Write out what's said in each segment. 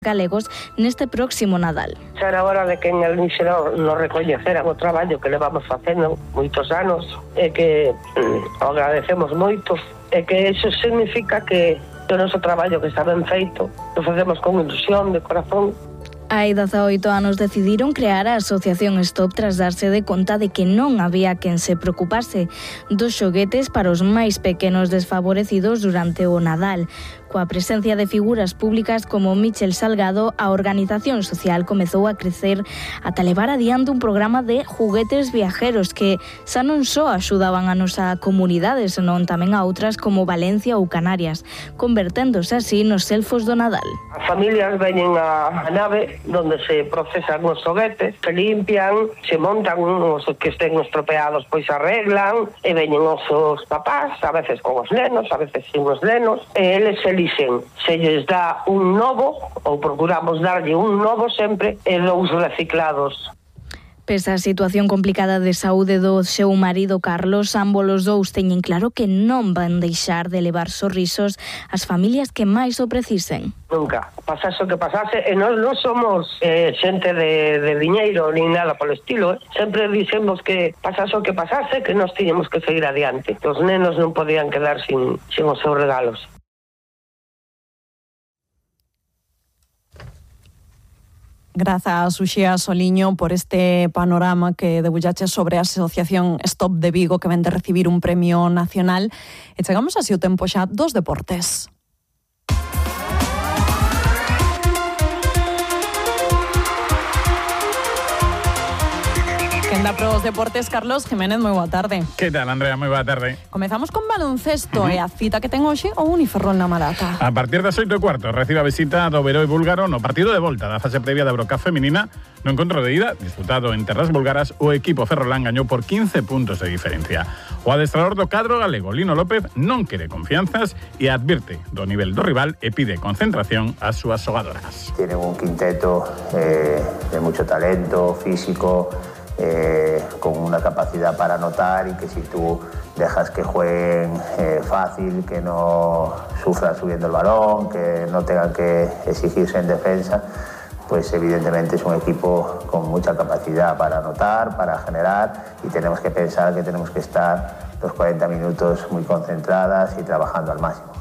galegos neste próximo Nadal. Xa era hora de que en el Liceo nos recoñeceran o traballo que levamos facendo moitos anos e que o agradecemos moito e que iso significa que o noso traballo que está ben feito o facemos con ilusión, de corazón. Hai 18 anos decidiron crear a Asociación Stop tras darse de conta de que non había quen se preocupase dos xoguetes para os máis pequenos desfavorecidos durante o Nadal. Coa presencia de figuras públicas como Michel Salgado, a organización social comezou a crecer ata levar adiante un programa de juguetes viajeros que xa non só axudaban a nosa comunidade, senón tamén a outras como Valencia ou Canarias, converténdose así nos elfos do Nadal. As familias veñen a nave donde se procesan os xoguetes, se limpian, se montan os que estén estropeados, pois arreglan, e veñen os papás, a veces con os nenos, a veces sin os nenos, e eles elixen se lles dá un novo, ou procuramos darlle un novo sempre, e dous reciclados. Pese a situación complicada de saúde do seu marido Carlos, ambos os dous teñen claro que non van deixar de levar sorrisos ás familias que máis o precisen. Nunca, pasase o que pasase, e nós non somos xente de diñeiro nin nada polo estilo, sempre dixemos que pasase o que pasase, que nós tiñemos que seguir adiante. Os nenos non podían quedar sin os seus regalos. Grazas, Uxía Soliño, por este panorama que debullache sobre a Asociación Stop de Vigo, que ven de recibir un premio nacional. E chegamos así o tempo xa dos deportes. Quenda pros deportes, Carlos Jiménez, moi boa tarde. Que tal, Andrea? Moi boa tarde. Comezamos con baloncesto e a cita que ten hoxe o Uniferrol na Malata. A partir das 8:15 recibe a visita do Oberoi búlgaro no partido de volta da fase previa da Eurocup feminina. No encontro de ida, disputado en terras búlgaras, o equipo ferrolán gañou por 15 puntos de diferencia. O adestrador do cadro galego, Lino López, non quere confianzas e advirte do nivel do rival e pide concentración ás súas xogadoras. Tienen un quinteto de mucho talento físico, con una capacidad para anotar, y que si tú dejas que jueguen fácil, que no sufran subiendo el balón, que no tengan que exigirse en defensa, pues evidentemente es un equipo con mucha capacidad para anotar, para generar, y tenemos que pensar que tenemos que estar los 40 minutos muy concentradas y trabajando al máximo.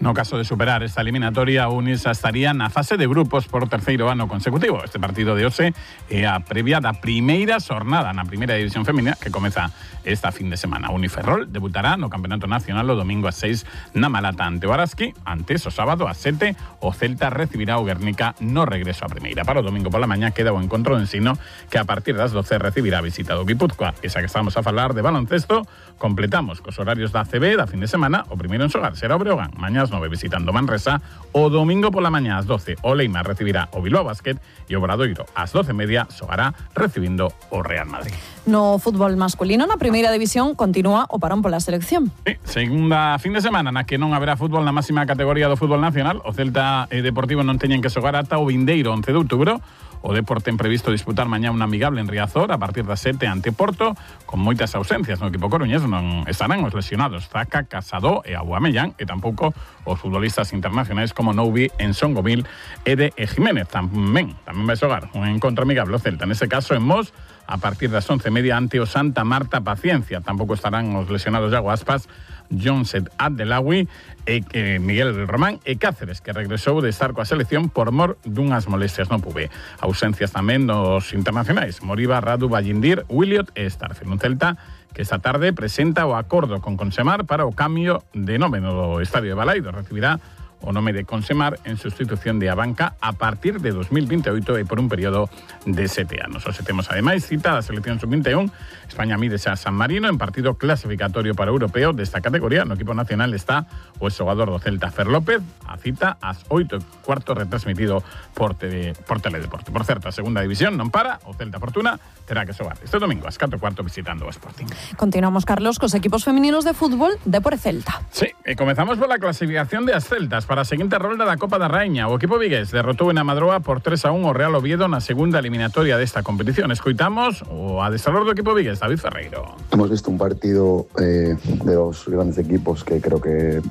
No caso de superar esta eliminatoria, a Unisa estaría na fase de grupos por terceiro ano consecutivo. Este partido de hoxe é a previa da primeira xornada na primeira división femenina que comeza esta fin de semana. Uniferrol debutará no Campeonato Nacional o domingo a 6 na Malata ante o Araski. Antes, o sábado a 7, o Celta recibirá o Guernica no regreso a primeira. Para o domingo pola mañá queda o encontro de Ensino, que a partir das 12 recibirá a visita do Guipúzcoa. Esa que estamos a falar de baloncesto, completamos cos horarios da ACB da fin de semana. O primeiro en xogar será o Breogán, mañá 9 visitando Manresa. O domingo pola mañá ás 12 o Leima recibirá o Bilbao Basket e o Obradoiro ás 12:30 xogará recibindo o Real Madrid. No fútbol masculino, na primeira división, continúa o parón pola selección. Sí, segunda fin de semana na que non haberá fútbol na máxima categoría do fútbol nacional. O Celta e Deportivo non teñen que xogar ata o vindeiro 11 de outubro. O Depor ten previsto disputar mañá un amigable en Riazor a partir das 7 ante Porto, con moitas ausencias no equipo coruñés. Non estarán os lesionados Zaca, Casado e Aubameyang, e tampouco os futbolistas internacionais como Noubi, Ensongomil e de Jiménez. Tamén vai xogar un encontro amigable o Celta, nese caso en Mos, a partir das 11:30 ante o Santa Marta Paciencia. Tampouco estarán os lesionados Iago Aspas, Jonset Abdelawi e Miguel Román e Cáceres, que regresou de estar coa selección por mor dunhas molestias no pube. Ausencias tamén dos internacionais Moriba, Radu, Ballindir, Williot e Starfield. Un Celta que esta tarde presenta o acordo con Consemar para o cambio de nome no estadio de Balaido. Recibirá o nome de Consemar en sustitución de Abanca a partir de 2028 e por un período de 7 anos. Hoxe temos ademais cita da selección sub-21. España mídese a San Marino en partido clasificatorio para o europeo desta categoría. No equipo nacional está o xogador do Celta, Fer López. A cita ás 8:15 retransmitido por Teledeporte. Por certo, a segunda división non para. O Celta Fortuna terá que xogar este domingo ás 4:15 visitando o Sporting. Continuamos, Carlos, cos equipos femininos de fútbol Depor e Celta. Sí, e comezamos pola clasificación de as Celtas para a seguinte rolda da Copa da Raíña. O equipo vigués derrotou en Amadroa por 3-1 o Real Oviedo na segunda eliminatoria desta competición. Escoitamos o adestrador do equipo vigués, David Ferreiro. Hemos visto un partido de dos grandes equipos que creo que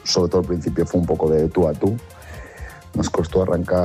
sobre todo al principio fue un poco de tú a tú. Nos costó arrancar